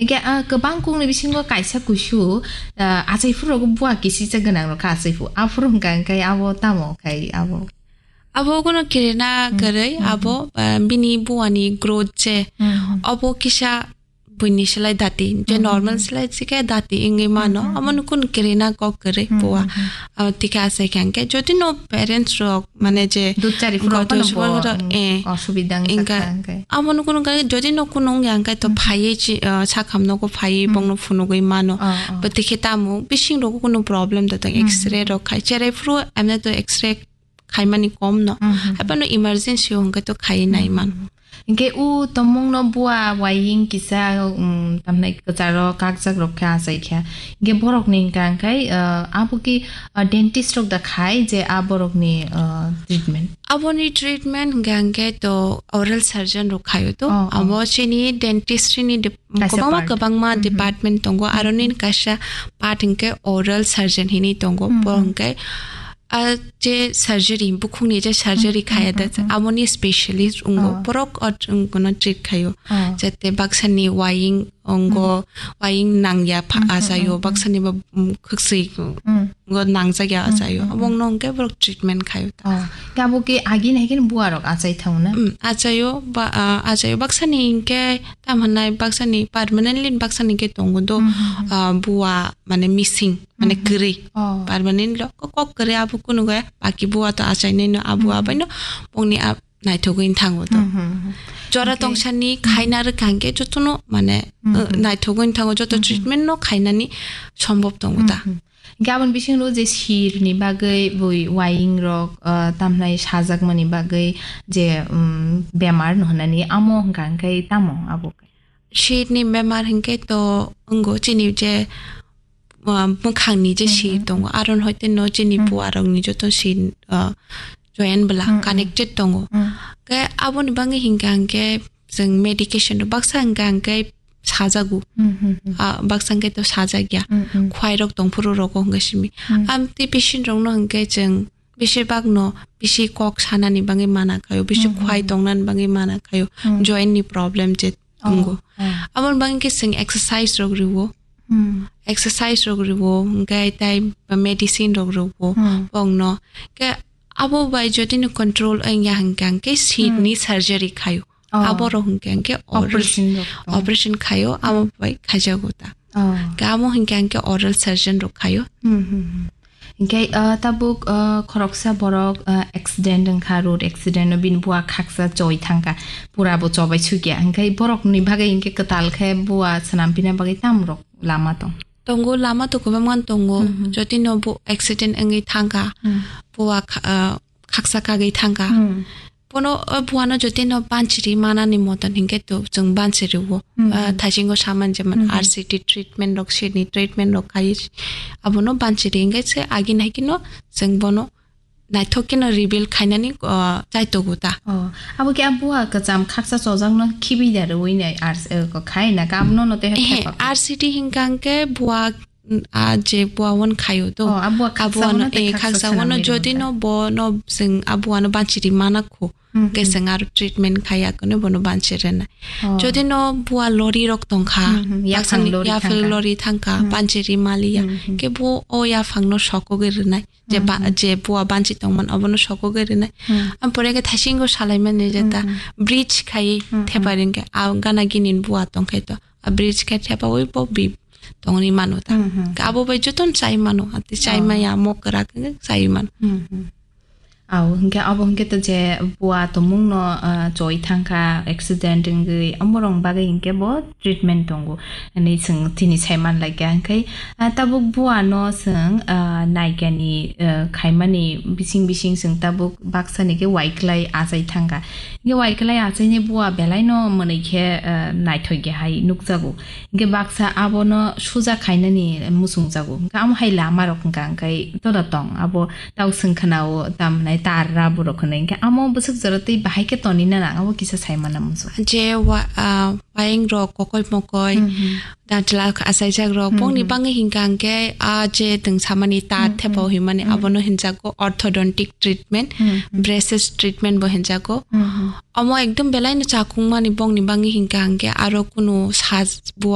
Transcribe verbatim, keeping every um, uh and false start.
Ike, ah, kwbang kukni bisingo kaisa kuisu, ah, achai phuru rogo bua kisisa gwnang rok kha achai phu. Aphuru hwnkha hwnkhe abo tamo khai abo? Abo kono kirina Hmm. kwrwi, Hmm. abo, ah, bini buani growth je, Hmm. abo kisa buini slai dati, je Hmm. normal slai sike dati wngwi mano. Hmm. Amo nukun kirina kok kwrwi Hmm. bua. Hmm. Ah, tike achai kha hwnkhe, jodi no parents rok mane je Dut chari phuru goto phano subor bo, goto, mm, eh, osubida wngkha ingka, hwnkhe. Amo nukung nukung jodi no kunung yang khe to Hmm. phaiwi chi, ah, sakham nogo phaiwi Hmm. bongno phunugwi mano. Oh, oh. Bo tikhe tamo bising rogo kunu problem da tong Hmm. X-ray rok khai. Cherai phuru amne to X-ray khaimani kom no. Hmm, hmm, hmm. Haibano emergency hwnkhe to khai nai Hmm, mano. Hmm. Hwnkhe u tomungno bua waying kisa, um, tamnai kwcharo kakjak rok khe achai kha. Hwnkhe borokni hwnkha hwnkhe, ah, abo ki, ah, dentist rok da khai je a borokni, ah, treatment? Aboni treatment hwnkha hwnkhe to oral surgeon rok khaio to. Oh, oh. Abo chini dentistry ni dep-, Kaisa kwbangma, part. Kwbangma Mhm. department tongo. Mhm. Aroni kaisa part hwnkhe oral surgeon hinwi tongo. Mhm. Bo hwnkhe a je surgery, bukhukni je surgery Mhm, khaya da, mhm, mhm. Aboni specialist wngo, Oh. borok o, wng-, kono treat khaio. Oh. Jate baksani waying ongo, Mhm. waying nangya pha-, Mhm, achaio, mhm, baksani ba, mm, khwksui, mhm. Ngo nangjak ya Mhm, achaio. Mhm, Abong mhm. no hwnkhe borok treatment khaio ta. Oh. Kabo ke agi nai khe buarok achai thang na? Mm, achaio, ba, ah, achaio. Baksani hwnkhe tam hwnai, baksani permanently baksani khe tongo do, Mhm, mhm. ah, bua mane missing. Mane Mhm. kwrwi. Oh. Permanent lo ko-, kok kwrwi abo kunu kaya. Baki bua to achainai no abo Mhm. abai no bongni a naithogwi thango to. Mhm, mhm. Jora Okay. tongsani Mhm. khaina rwkha hwnkhe jotono mane, Mhm. uh, naithogwi thango joto Mhm. treatment no khainani sombhob tongo ta. Mhm. Hwnkhe aboni bisingo je sir ni bagwi bui waying rok, uh, tamhnai sajakmani bagwi je, um, bemar no hwnani amo hwnkha hwnkhe tamo abo? Sir ni bemar hwnkhe to wngo chini je, uh, mwkhangni je Hmm, sir hmm, tongo, hmm. Aron hoite no chini Hmm. buarokni joto sir, uh, join bwla Hmm, hmm. connected tongo. Hmm. Khe aboni bagwi hwnkha hwnkhe chwng medication rok baksa hwnkha hwnkhe sajago. Hmm, hmm, hmm. Ah, baksa hwnkhe to sajak ya. Hmm, hmm. Khwai rok tongphuru rogo hwnkhe simi. Hmm. Am tei patient rokno hwnkhe chwng bisi bagno bisi kok sanani bagwi mana khaio, bisi Hmm, hmm, khwai hmm. tongnani bagwi mana khaio. Hmm. Join ni problem je Oh, tongo. Oh. Aboni bagwi khe chwng exercise rok rwo. Hmm. Exercise rok rwo, hwnkhe tai medicine rok rwo Hmm. bongno. Khe abo bai jodi no control wngya hwnkha hwnkhe sir Hmm. ni surgery khaio. Oh. Abo rok hwnkha hwnkhe oral Operation rok. Oh. operation khaio, abo bai khaijago ta. Oh. Khe amo hwnkha hwnkhe oral surgeon rok khaio. Hmm, hmm, hmm. Hwnkhe, ah, tabuk, ah, khoroksa borok, ah, accident wngkha, road accident o bini bua khaksa choi thangkha, pura bo chobai sukya. Hwnkhe borokni bagwi hwnkhe kwtal khe bua swnam pina bagwi tam rok lama tong? Tongo, lama to kwbangma tongo. Mhm. Jodi no bo accident wngwi thangkha, Hmm. bua kha-, ah, khaksa kagwi thangkha. Hmm. Bono, o buano jotino banchiri manani moton hinkhe to chwng banchiri o. Hmm. Ah, thaisingo saman jemon Hmm. R C T treatment rok, sini treatment rok khai abono banchiri hinkhe se agini hai kheno chwng bono naithok kheno rebuild khainani, ah, chaitogo ta. Oh, abo khe a bua kwcham khaksa chojakno khibi da rwui nai R C, eh, ko khai na kam no no te Ehe, thepa. R C T hinkha hinkhe bua a je bua wan khayo to. Oh, a bua khaksa Abuano, wano tei eh, khaksa khaksa swnam wano ri jodi wngkha. No bo no sing abuano banchiri mana kho. Hmm, Ke hmm. Sing aro treatment khaya kono bono banchiri na. Oh. Jodi no bua lori rok tongkha. Hmm, hmm. Yaphang Baksani lori yaphang thangkha. Lori thangkha, Hmm. Banchiri maliya. Hmm, hmm. Ke bo o yaphang no soko ge rinai. Je Hmm, ba-, hmm. Je bua banchi tongman obono soko ge rinai. Hmm. Am pore ke thasingo salai mani je ta Hmm, hmm. Bridge khai Hmm, hmm. Thepa ringke. A gana ginin bua tongkhai to. A bridge khai thepa oi bo bi tongni mano ta. Hmm, hmm. Ka abo bai joton chai mano, ati chai Oh. Maya mokra ke chai mano. Hmm, hmm. Au, hingke abo hingke to je bua tomung no, ah, choi thangkha, accident wngwi, omorong bagwi hingke bo treatment tongo. Ani chwng tini sai man laikha, hingke, ah, tabuk bua no chwng, ah, naikani, ah, khaimani bising bising chwng tabuk baksa ni khe waiklai achai thangkha. Hingke waiklai achaini bua belai no mwnwi khe, ah, naithok ya hai nukjago. Hingke baksa abono suja khainani muchungjago. Hingke amo hai lama rok hingka hingkai toda tong. Abo tau swng khna o tam hinai tar ra borok hinui. Hingke amo bwswk jora tei bahai khe toni na nang abo kisa sai mana muchung. Je wa-, ah, wayeng rok kokoi mokoi, Hmm, hmm. Dantla achaijak rok, Hmm, bongni hmm. Bangwi hingka hingke a je twng samani tar Hmm, thepa hmm. Himani Hmm. Abono hinjago orthodontic treatment, Hmm, hmm. Braces treatment bo hinjago. Hmm, hmm. Omo ekdom belai no chakung mani bongni bangwi hingka hingke aro kunu saj bua